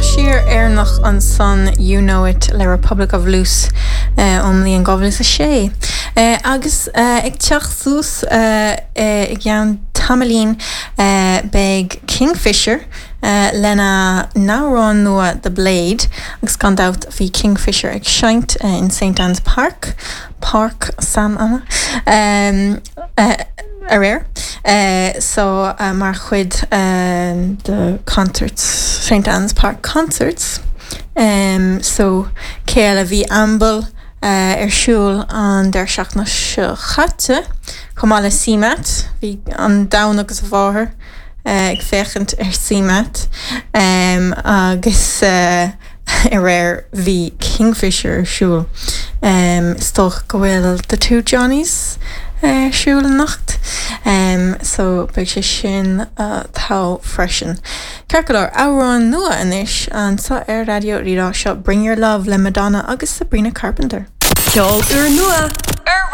Sraith siar Éireannach ansan You Know It le Republic of Loose ón mbliain 2006. Agus ag teacht suas i gceann tamaillín beidh Kingfisher lena n-amhrán nua The Blade agus gan dabht bhí Kingfisher ag seinnt in St Anne's Park, Páirc San Anna, aréir so mar chuid de concerts, St Anne's Park Concerts. So cé eile? Bhí Amble ar siúl an deireadh seachtaine seo chaite chomh maith le CMAT. Bhí an domhan agus a mháthair ag féachaint ar CMAT agus aréir bhí Kingfisher ar siúl. Is dócha go bhfuil The Two Johnnies ar siúl anocht so beidh sé sin thall freisin. Ceart go leor, amhrán nua anois anseo ar Raidió Rí-Rá, seo Bring Your Love le Madonna agus Sabrina Carpenter. Ceol úrnua ar.